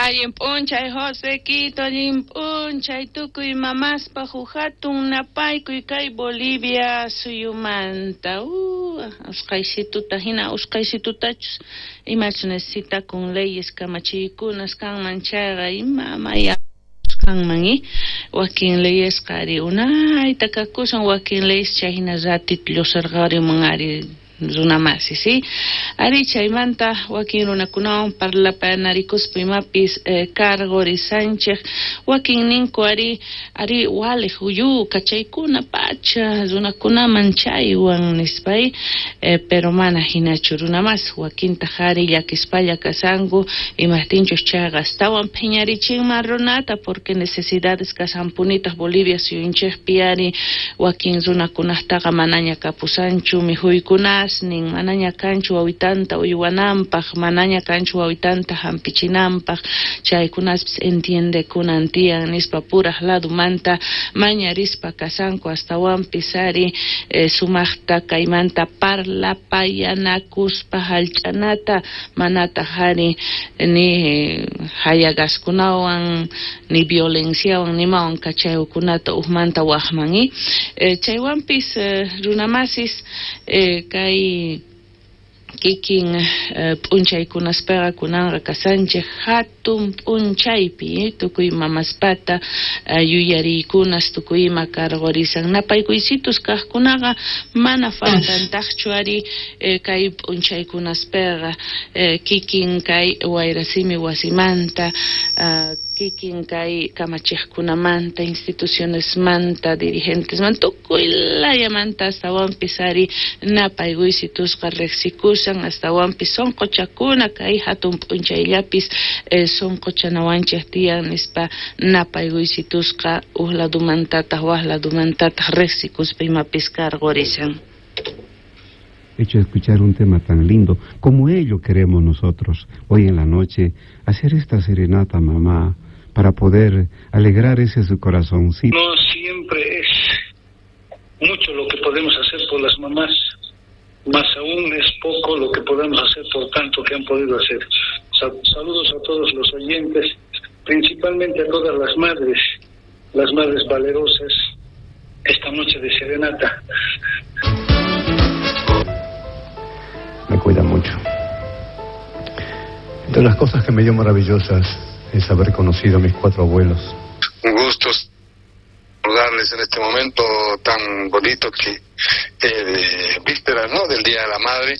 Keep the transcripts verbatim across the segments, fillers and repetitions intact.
Allin p'unchay Josequito, allin p'unchay tukuy mamaspaj huk hatun napaykuy kay Bolivia suyumanta. Uh, usqhaysituta hina usqhaysitutachus imachus necesitakun leyes kamachiykunas kanman chayqa ima maya kanman i wakin leyesqa ari unayta kakusan wakin leyes chay hina ratito llusarqarimun ari runamasi, ¿sí? Ari chaymanta wakin runakunawan parlapanarikuspa imapis eh, cargorisanchej wakin ninku ari ari walej uyu kachaykuna pacha runakunaman chaywan nispay eh, pero mana hinachu runamas wakintaj ari llakispalla kasanku imajtinchus chayqa astawan phiñarichinman runata porque necesidades kasanpunitaj Bolivia suyunchejpi ari wakin runakunajtaqa manaña kapusanchu mikhuykunas nin manaña kanchu wawitanta uywananpaj manaña kanchu wawitanta hampichinanpaj chaykunaspis entiendekunan tiyan nispa puraj ladumanta mañarispa kasanku astawanpis ari eh, sumajta kaymanta parlapayanakuspa hallch'anata manataj ari ni hayagaskunawan ni violenciawan nimawan kachaykunata ujmanta wajman i eh, chaywanpis eh, runamasis eh, kay kikin eh, p'unchaykunaspaqa kunanqa kasanchej hatun p'unchaypi eh, tukuy mamaspata eh, yuyariykunas tukuy ima cargorisan napaykuysitus kajkunaqa mana faltantajchu ari eh, kay p'unchaykunaspaqa eh, kikin kay wayrasimi wasimanta uh, kikin kay kamachejkunamanta institucionesmanta dirigentesmanta tukuy layamanta astawanpis ari napaykuysitusqa riqsikusan astawanpis sunquchakuna kay hatun p'unchayllapis eh, sunquchanawanchej tiyan nispa napaykuysitusqa uj ladumantataq waj ladumantataq riqsikuspa imapis cargorisan. Hecho escuchar un tema tan lindo como ello queremos nosotros hoy en la noche hacer esta serenata, mamá, para poder alegrar ese su corazoncito. No siempre es mucho lo que podemos hacer por las mamás, más aún es poco lo que podemos hacer por tanto que han podido hacer. Saludos a todos los oyentes, principalmente a todas las madres, las madres valerosas, esta noche de serenata. Me cuida mucho. Entre las cosas que me dio maravillosas es haber conocido a mis cuatro abuelos. Un gusto saludarles en este momento tan bonito que eh, de víspera, ¿no?, del Día de la Madre,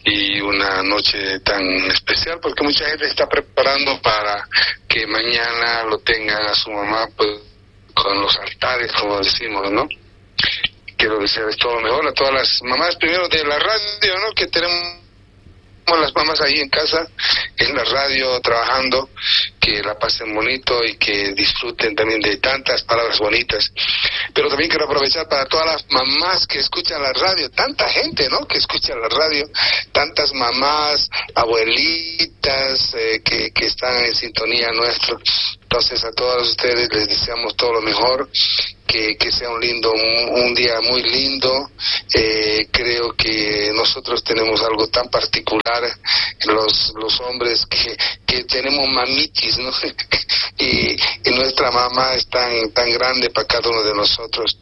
y una noche tan especial porque mucha gente está preparando para que mañana lo tengan a su mamá, pues, con los altares, como decimos, ¿no? Quiero desearles todo lo mejor a todas las mamás, primero de la radio, ¿no?, que tenemos las mamás ahí en casa, en la radio, trabajando, que la pasen bonito y que disfruten también de tantas palabras bonitas. Pero también quiero aprovechar para todas las mamás que escuchan la radio, tanta gente, ¿no?, que escucha la radio, tantas mamás, abuelitas, eh, que, que están en sintonía nuestro. Entonces a todos ustedes les deseamos todo lo mejor, que, que sea un lindo, un, un día muy lindo. Eh, creo que nosotros tenemos algo tan particular, los, los hombres que, que tenemos mamitis, ¿no? y, y nuestra mamá es tan, tan grande para cada uno de nosotros.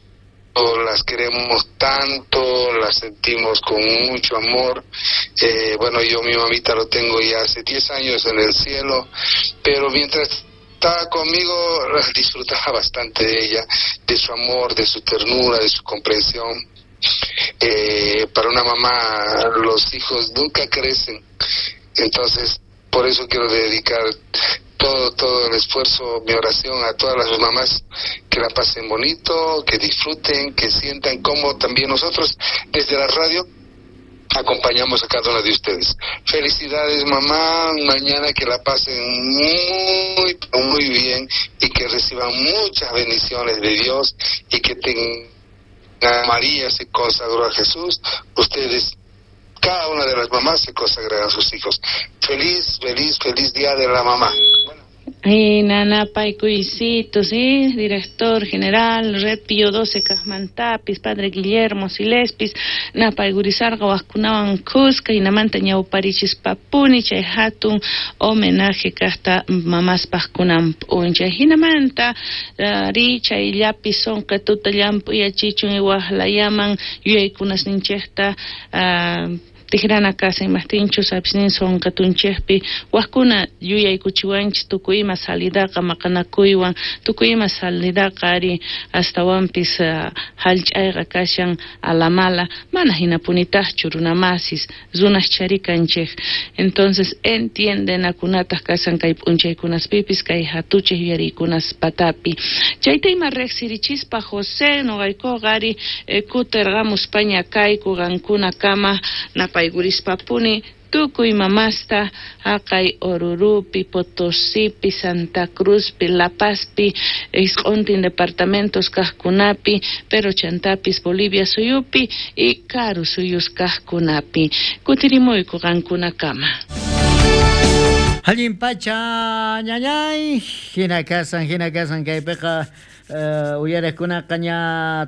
Las queremos tanto, las sentimos con mucho amor. Eh, bueno, yo mi mamita lo tengo ya hace diez años en el cielo, pero mientras estaba conmigo disfrutaba bastante de ella, de su amor, de su ternura, de su comprensión. Eh, para una mamá los hijos nunca crecen, entonces por eso quiero dedicar todo, todo el esfuerzo, mi oración a todas las mamás, que la pasen bonito, que disfruten, que sientan como también nosotros desde la radio acompañamos a cada una de ustedes. Felicidades, mamá, mañana que la pasen muy, muy bien y que reciban muchas bendiciones de Dios y que tengan. María se consagró a Jesús, ustedes, cada una de las mamás se consagran a sus hijos. Feliz, feliz, feliz día de la mamá. Nanapaykuysito, sí, director general, Red Pío doce Kajmantapis, padre Guillermo Silespis, napaygurisarqa wajkunawan kuska, hinamanta ñawparichispapuni chay hatun homenaje kajta mamaspaj kunan p'unchay. Hinamanta ri chayllapi sonqetuta llamp'uyachichun iwajlayaman yuyaykunasninchejta uh, tijrana casa imajtinchus apisnin sonqetunchejpi wajkuna yuyaykuchiwanchis tukuy ima salidaqa maqanakuywan tukuy ima salidaqa ari astawanpis uh, hallch'ayqa kashan alamala mana hinapunitaqchu runamasis runas charikanchej. Entonces entiendenakunataq kasan kay p'unchaykunaspipis kay hatuchej yuyariykunas patapi. Chayta ima riqsirichispa José noqaykuqa ari eh, kutirqamuspaña kayku qankuna kama napay Paygurispapuni tukuy mamasta haqay Orurupi, Potosipi, Santa Cruzpi, La Pazpi, isq'untin departamentos kajkunapi, pero chantapis Bolivia suyupi y karu suyus kajkunapi. Kutirimuyku qankunakama. Allin pacha ñañay, hina kasan, hina kasan kaypiqa Uh, uyarejkunaqa ña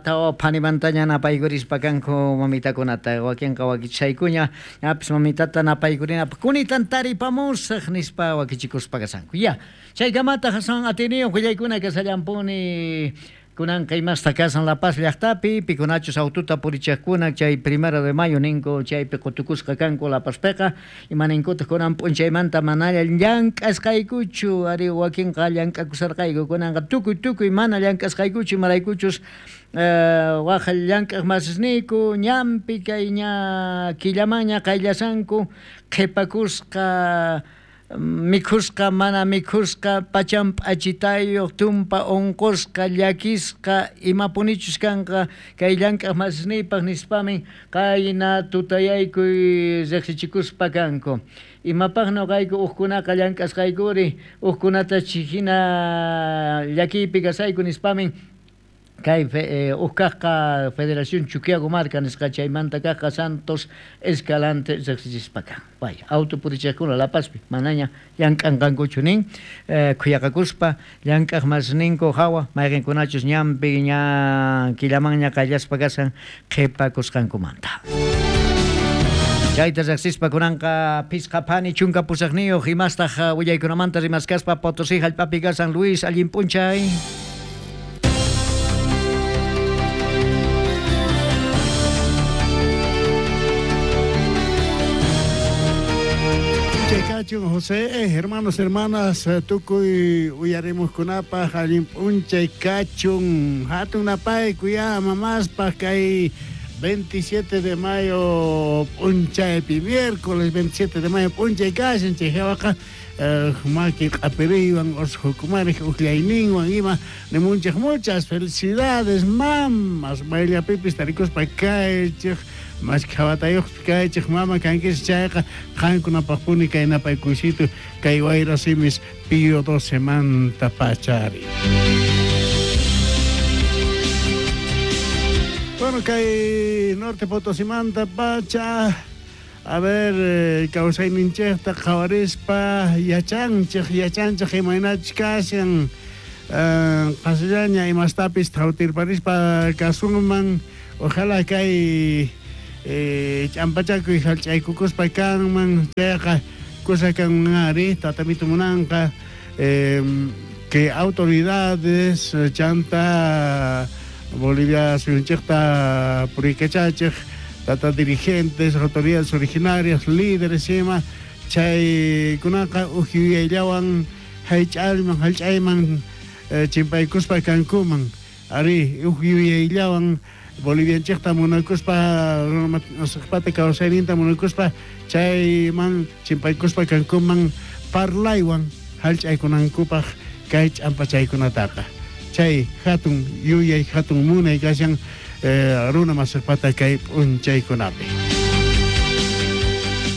tawa phanimantaña napaykurispa kanku mamitakunata wakinqa wakichaykuña ñapis mamitata napaykurinapaq kunitan taripamusaq nispa wakichikuspa kasanku. Ya, chaykamata Hasan atiniyuq willaykuna kasallampuni kunanqa imasta kasan La Paz llaqtapi pikunachus aututa purichaqkuna chay primero de mayo ninku chaypi qutukusqa kanku La Pazpiqa imaninkutaq kunan p'unchaymanta manalla llank'asqaykuchu ari wakinqa llank'akusarqayku kunanqa tukuy tukuy mana llank'asqaykuchu imaraykuchus Uh, waj llank'aq masisniyku ñanpi kay ña killamanña qayllasanku qhipakusqa mikhusqa mana mikhusqa pachan p'achitayuq tumpa unqusqa llakisqa imapunichus kanqa kay llank'aq masisniypaq nispamin qayna tutayaykuy riqsichikuspa kanku. Imapaq noqayku uqkunaqa llank'asqaykuri uqkunata hina llakiypi kasayku nispamin kay eh, uqkaqqa Federación Chuquiago Marca nisqa chaymanta kaqqa Santos Escalante riqsichispa kan. Vaya, auto purichaqkuna La Pazpi manaña llank'anqankuchu nin eh, khuyaqakuspa llank'aq masninku hawa mayqinkunachus ñanpi ña killamanña qayllaspa kasan qhipakusqankumanta. Chayta riqsispa kunanqa phisqa phani chunka pusaqniyuq imastaq willaykunamanta rimaskaspa Potosí hallp'api kasan Luis allin p'unchay. José, hermanos, hermanas, tukuy uyarimuskunapaj allin p'unchay kachun hatun napaykuya mamaspaj kay veintisiete de mayo p'unchaypi miércoles veintisiete de mayo p'unchay kashan chay hawaqa maki q'apiriywan ursukumarej uqllayninwan ima nimunchej muchas felicidades mamas mayllapipis tarikuspa kaychej mashkhawatayuqpi kaychej mama kankis chayqa qankunapaqpuni kay napaykuysito kay wayra simis Pío doce manta pachari. Bueno, kay Norte Potosimanta pacha a ver eh, kawsayninchejta qhawarispa yachanchej yachanchej imaynachus kashan qasillaña imastapis thawtirparispa kasunman ojalá kay Eh, ch'ampachakuy hallch'aykukuspa kanman chayqa kusa kanman ari tatamito munanqa eh, que autoridades chanta Bolivia suyunchejta purikachachej tata dirigentes autoridades originarias líderes ima chaykunaqa uj yuyayllawan hallch'ayman hallch'ayman eh, chimpaykuspa kankuman ari uj yuyayllawan Bolivianchejta munakuspa runamasiqpata kawsayninta munakuspa chayman chimpaykuspa kankuman parlaywan hallch'aykunankupaq kay ch'ampachaykunataqa chay hatun yuyay hatun munay kashan eh, runamasiqpata kay p'unchaykunapi.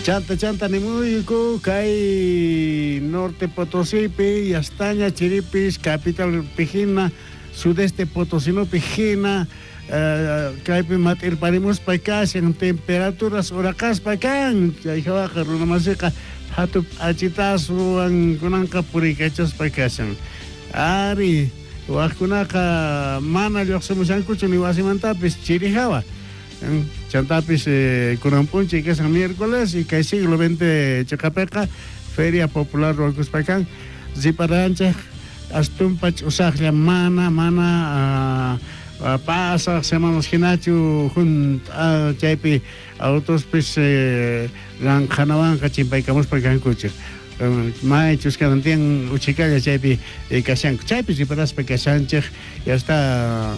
Chanta chanta nimuyku kay Norte Potosipi yastaña chiripis capital pijina sudeste potosinopi hina Uh, kaypi mat'irparimuspa kashan temperaturas uraqaspa kan chay hawaqa runamasiqa Hatu p'achitaswan kunanqa puriykachaspa kashan. Ari, wajkunaqa mana lluqsimushankuchu ni wasimantapis chirijawa. Chantapis eh, kunan p'unchay kashan miércoles y kay siglo veinte chiqapiqa Feria Popular ruwakuspa kan riparanchej astumpa ch'usaqlla mana mana uh, pasaq semanas hinachu junt'a chaypi autospis eh, ranqhanawanqa chimpaykamuspa kankuchej. Maychus kanan tiyan uchikalla chaypi eh, kashanku chaypi riparaspa kashanchej ya está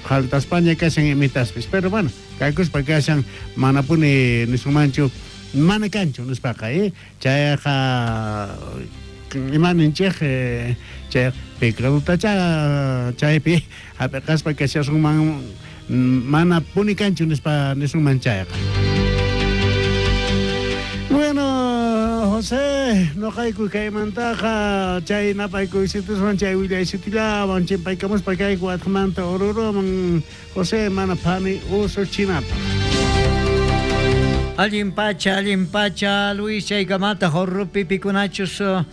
jaltaspaña kashan imitaspis pero bueno kakuspa kashan manapuni nisunmanchu mana kanchu nispaqa eh chayqa imaninchej eh, chay pecadutacha chaypi hap'iqaspa kashasunman mana puni kanchu nispa nisunman chayqa. Bueno, José, noqayku kaymantaqa chay napaykuysitoswan chay willaysitillawan chimpaykamuspa kayku atqamanta Oruroman José mana phani usuchinapaq. Allin pacha, allin pacha, Luis, chaykamata Oruropi pikunachus uh,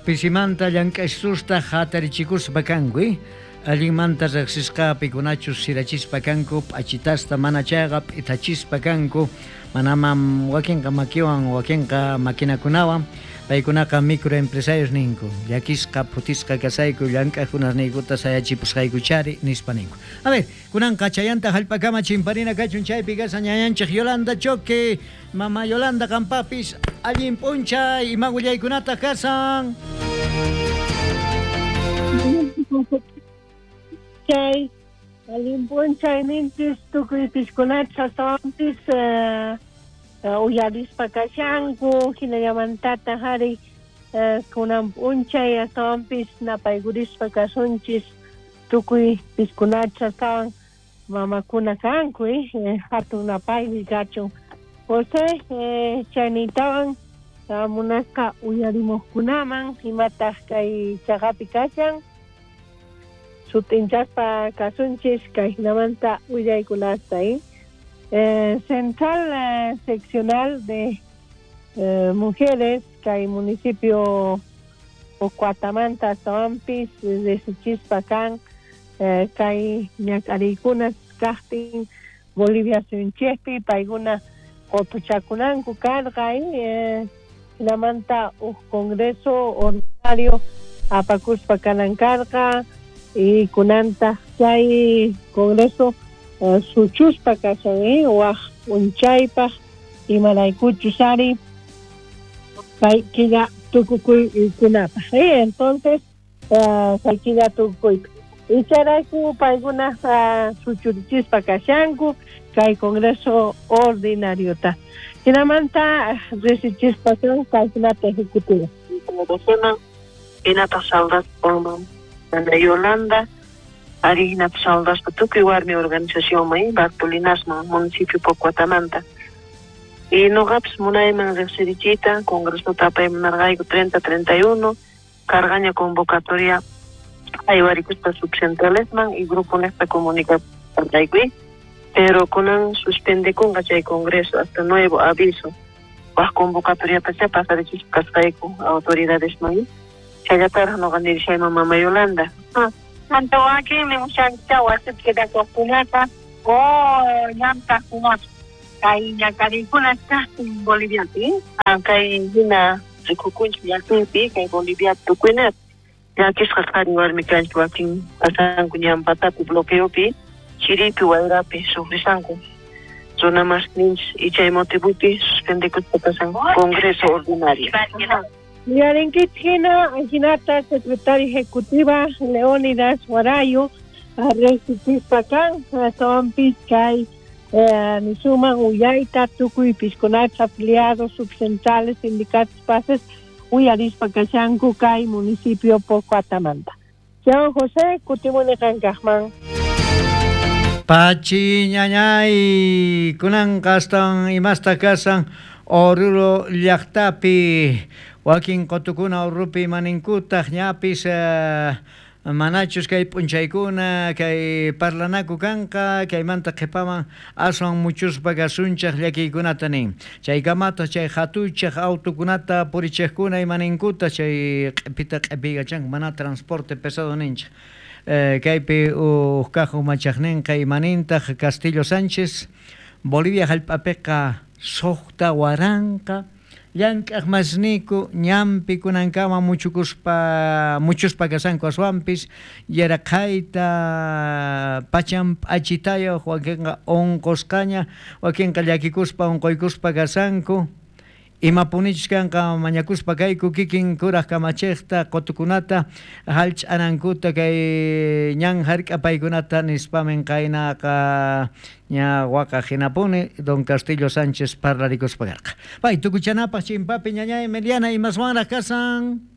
pisimanta llank'aysusta hatarichikuspa kanku, eh? Allinmanta riqsisqa pikunachus sirachispa kanku, p'achitasta mana chayqa p'itachispa kanku, manamam wakinqa makiwan, wakinqa maquinakunawan, paykunaqa microempresarios ninku, llakisqa phutisqa kasayku llank'aqkunasniykuta sayachipusqaykuchari nispa ninku. A ver, kunanqa chayanta hallp'akama chimparina kachun chaypi kashan ñañanchej Yolanda Choque, mama Yolanda qampapis allin p'unchay ima willaykunataq kasan. Chay allin p'unchay ninchis tukuy piskunachus astawanpis uh, uyarispa kashanku hinallamantataq ari uh, kunan p'unchay astawanpis napaykurispa kasunchis tukuy piskunachus astawan mamakuna kanku eh, hatun napaymi kachun. José eh, chaynintawan uh, munasqa uyarimuqkunaman imataq kay chaqapi kashan sutinchaspa kasunchis kay hinamanta willaykunasta eh? Eh, Central eh, Seccional de eh, Mujeres kay municipio Ocuatamanta astawanpis resichispa kan eh, kay ñak'ariykunas kaqtin Bolivia suyunchikpi paykuna qutuchakunanku karqa eh, hinamanta uj congreso ordinario apakuspa kanan karqa y kunanta chay congreso uh, suchuspa kashan eh, waj p'unchaypaq imaraykuchus ari kay killa tukukuykunapaq eh, entonces uh, kay killa tukukuypaq icharayku paykuna uh, suchurichispa kashanku kay congreso ordinariota hinamanta resichispa kan kaykunata ejecutiva hinataq saldaspa Ana Yolanda, ari hinata saldaspa tukuy warmi organizacionman Bartolinasman municipio Pocuatamanta. Y noqapis munayman riqsirichiyta congresota apaymunarqayku treinta treinta y uno cargaña convocatoria aywarikuspa subcentralesman y grupo nesta comunicarqayku pero kunan suspendekunqa chay congreso hasta nuevo aviso waj convocatoriatacha pasarichispa kasqayku autoridadesman. Chayataraq noqa nirishayman mama Yolanda. Manta wakinmi mushankicha wasipi quedakuqkunata o llamk'aqkunata kay ñak'ariykuna kaqtin Boliviapi. Kay hina rikukunchik llaqtaypi kay Boliviapi tukuynapi llakisqa qhari warmi kanchik wakin pasanku ñanpatapi bloqueopi chiripi wayrapi sufrisanku runa masninchis y chay motivopi suspendekuspa pasan congreso ordinario. Yarinkichik hina hinata secretaria ejecutiva Leónidas Guarayo riqsichispa kan astawanpis kay eh, nisuman uyayta tukuy piskunachus afiliados subcentrales sindicatos pases uyarispa kashanku kay municipio Pocuatamanta. Chao José, kutimuni qankaqman. Pachi ñañay kunanqa astawan imasta kasan Oruro llaqtapi wakin qutukuna Oruropi maninkutaq ñapis uh, Manachus kay p'unchaykuna kay parlanaku kanqa kaymanta qhipaman aswan muchuspa kasunchaq llakiykunata nin. Chaykamata chay hatuchaq autokunata purichiqkuna imaninkuta chay q'ipita q'ipiykachanku mana transporte pesado ninchik. Eh, kaypi uj kaq umachaqninqa imanintaq Castillo Sánchez Bolivia hallp'apiqa suqta waranqa llank'aq masniku ñanpi kunankama muchukuspa muchuspa kasanku aswanpis yaraqhayta pachan p'achitayuq wakinqa unqusqaña wakinqa llakikuspa unquykuspa kasanku imapunichus kanqa mañakuspa kayku kikin kuraq kamachiqta qutukunata hallch'anankuta kay ñan hark'apaykunata nispamin qaynaqa ña waqaq hinapuni don Castillo Sánchez parlarikuspa karqa. Pay tukuchanapaq chimpapi ñañay Meliana imaswanraq kasan.